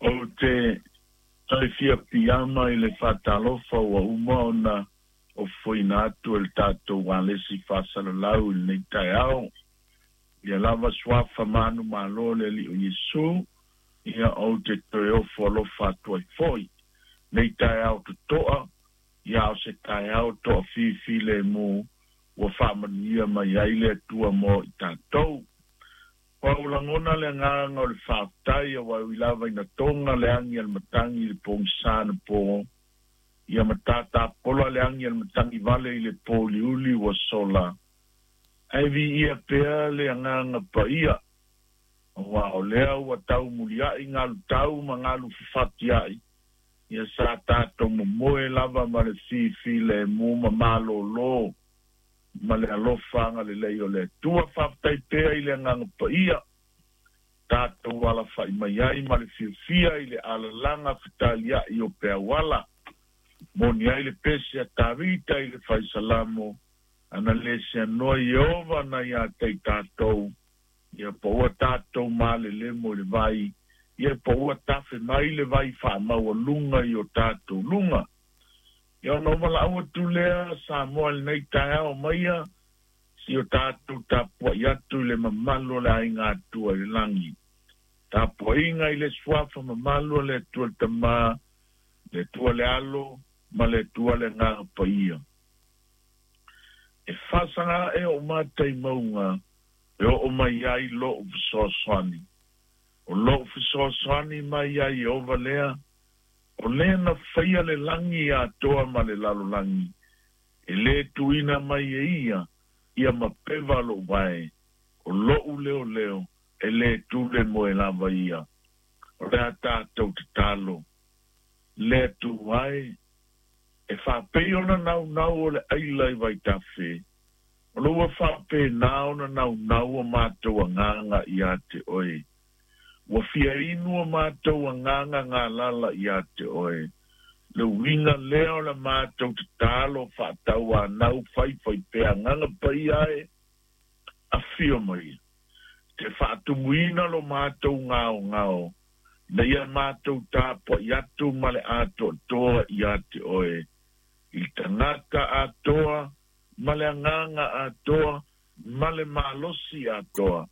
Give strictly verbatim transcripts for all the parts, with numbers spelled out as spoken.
Ou te toe fia piama i le faatalofa ua uma ona ofoina atu e le tatou alesi faasalalau i lenei taeao. Ia lava suafa manumalo o le Alii o Iesu, ia ou te toe ofo alofa atu ai foi. Nei taeao totoa, ia o se taeao toafilemu ua faamanuia mai ai le Atua mo i tatou. Ua ou lagona le agaga o le faafetai aua e ui lava ina toga le agi a le matagi i le pogisa anapo, ia ma tatapola le agi a le matagi vale i le pouliuli ua sola, ae viia pea le agaga paia, aua o lea ua taumuliai galu tau ma galu fafatiai, ia sa tatou momoe lava ma le fifilemu ma malōlō ma le alofa agalelei o le Atua. Faafetai pea i le agaga paia, tatou alafai mai ai ma le fiafia i le alalaga fetaliai o peauala. Moni ai le pese a Tavita i le faisalamo, ana le seanoa Ieova na ia te i tatou, ia po ua tatou malelemo i le vai, ia po ua tafe mai le vai faamaualuga i o tatou luga. Ia ona ou valaau atu lea Samoa i lenei taeao maia, si o tatou tapuai atu i le mamalu o le aiga Atua i le lagi. Tapuaiga i le suafa mamalu o le Atua le Tama, le Atua le Alo, ma le Atua le Agaga Paia. E faasaga ae ou mata i mauga, e oo mai ai lou fesoasoani. O lou fesoasoani mai ia Ieova lea, o lea na faia le lagi atoa ma le lalolagi, e lē tuuina mai e ia ia mapeva lou vae, o lo'u leoleo e lē tule moe lava ia. O le a tatou tatalo, le Atua e, e faapei ona naunau o le aila i vaitafe, o lo ua faapena ona naunau o matou agaga ia te oe. Ua fia inu o matou agaga galala ia te oe. Le uiga lea o le matou tatalo faatauanau faifaipea agaga paia e, afio mai. Te faatumuina lo matou gaogao, ina ia matou tapuai atu ma le atoatoa ia te oe. I le tagata atoa, ma le agaga atoa, ma le malosi atoa.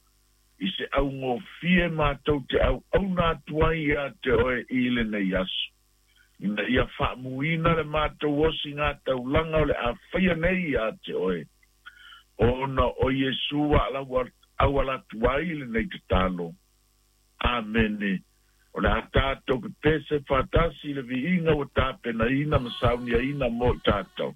I se augofie matou te auauna atu ai ia te oe i lenei aso. Ina ia faamuina le matou osigataulaga o le a faia nei ia te oe. Ona o Iesu ua auala atu ai lenei tatalo. Amene. O le a tatou pepese faatasi i le viiga ua tapenaina ma sauniaina mo i tatou.